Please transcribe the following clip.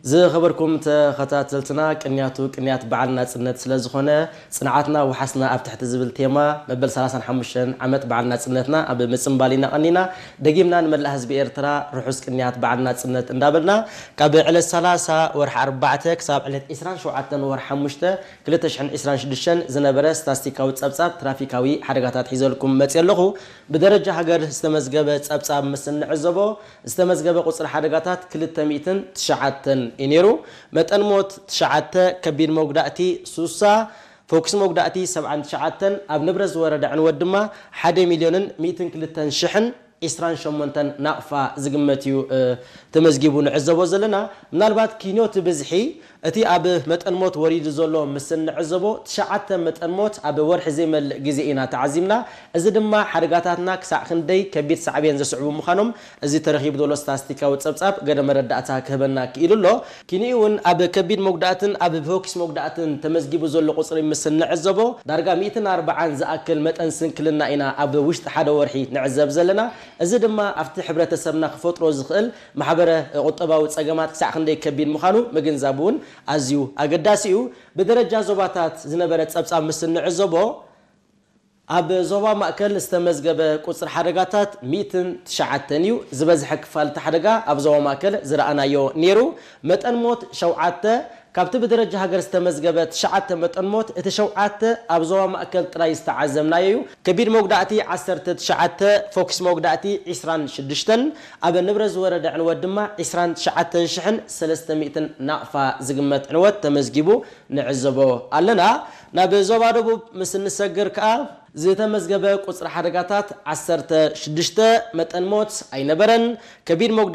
ዝኸበርኩም ተኸታተልትና፣ ቅንያቱ ቅንያት በዓል ናጽነት ስለ ዝኾነ፣ ጽንዓትና ወሓስና ኣብ ትሕቲ ዝብል ቴማ፣ መበል ሰላሳን ሓሙሽተን ዓመት በዓል ናጽነትና ኣብ ምጽንባል ኢና ቀኒና። ደጊምና ንመላእ ህዝቢ ኤርትራ ርሑስ ቅንያት በዓል ናጽነት እንዳበልና፣ ካብ ዕለት ሰላሳ ወርሒ ኣርባዕተ ክሳብ ዕለት ዕስራን ሸውዓተን ወርሒ ሓሙሽተ ክልተ ሽሕን ዕስራን ሽዱሽተን ዝነበረ ስታስቲካዊ ጸብጻብ ትራፊካዊ ሓደጋታት ሒዘልኩም መጽየ ኣለኹ። ብደረጃ ሃገር ዝተመዝገበ ጸብጻብ ምስ እንዕዘቦ፣ ዝተመዝገበ ቁጽሪ ሓደጋታት ክልተ ሚእትን ትሽዓተን እዩ ነይሩ። መጠን ሞት ትሽዓተ፣ ከቢድ መጉዳእቲ ሱሳ፣ ፈኩስ መጉዳእቲ ሰብዓን ትሽዓተን፣ ኣብ ንብረት ዝወረደ ዕንወት ድማ ሓደ ሚልዮንን ሚእትን ክልተን ሽሕን ዕስራን ሸሞንተን ናቕፋ ዝግመት እዩ፣ እ፣ ተመዝጊቡ ንዕዘቦ ዘለና። ምናልባት ኪንዮቲ ብዝሒ እቲ ኣብ መጠን ሞት ወሪዱ ዘሎ ምስ እንዕዘቦ፣ ትሽዓተ መጠን ሞት ኣብ ወርሒ ዘይመልእ ግዜ ኢና ተዓዚምና። እዚ ድማ ሓደጋታትና ክሳዕ ክንደይ ከቢድ ሳዕቤን ዘስዕቡ ምዃኖም እዚ ተረኺቡ ዘሎ ስታስቲካዊ ጸብጻብ ገለ መረዳእታ ክህበና ክኢሉ ኣሎ። ኪንኡ እውን ኣብ ከቢድ መጉዳእትን ኣብ ፈኩስ መጉዳእትን ተመዝጊቡ ዘሎ ቁጽሪ ምስ እንዕዘቦ፣ ዳርጋ ሚእትን ኣርባዓን ዝኣክል መጠን ስንክልና ኢና ኣብ ውሽጢ ሓደ ወርሒ ንዕዘብ ዘለና። እዚ ድማ ኣብቲ ሕብረተሰብና ክፈጥሮ ዝኽእል ማሕበረ ቁጠባዊ ጸገማት ክሳዕ ክንደይ ከቢድ ምዃኑ ምግንዛብ እውን ኣዝዩ ኣገዳሲ እዩ። ብደረጃ ዞባታት ዝነበረ ጸብጻብ ምስ እንዕዘቦ፣ ኣብ ዞባ ማእከል ዝተመዝገበ ቁጽሪ ሓደጋታት ሚእትን ትሽዓተን እዩ። ዝበዝሐ ክፋል እቲ ሓደጋ ኣብ ዞባ ማእከል ዝረኣናዮ ነይሩ። መጠን ሞት ሸውዓተ፣ ካብቲ ብደረጃ ሃገር ዝተመዝገበ ትሽዓተ መጠን ሞት፣ እቲ ሸውዓተ ኣብ ዞባ ማእከል ጥራይ ዝተዓዘብናዮ እዩ። ከቢድ መጉዳእቲ ዓሰርተ ትሽዓተ፣ ፈኩስ መጉዳእቲ ዕስራን ሽዱሽተን፣ ኣብ ንብረት ዝወረደ ዕንወት ድማ ዕስራን ትሽዓተን ሽሕን ሰለስተ ሚእትን ናቕፋ ዝግመት ዕንወት ተመዝጊቡ ንዕዘቦ ኣለና። ናብ ዞባ ደቡብ ምስ እንሰግር ከኣ፣ ዝተመዝገበ ቁጽሪ ሓደጋታት ዓሰርተ ሽዱሽተ፣ መጠን ሞት ኣይነበረን። ከቢድ መጉዳእቲ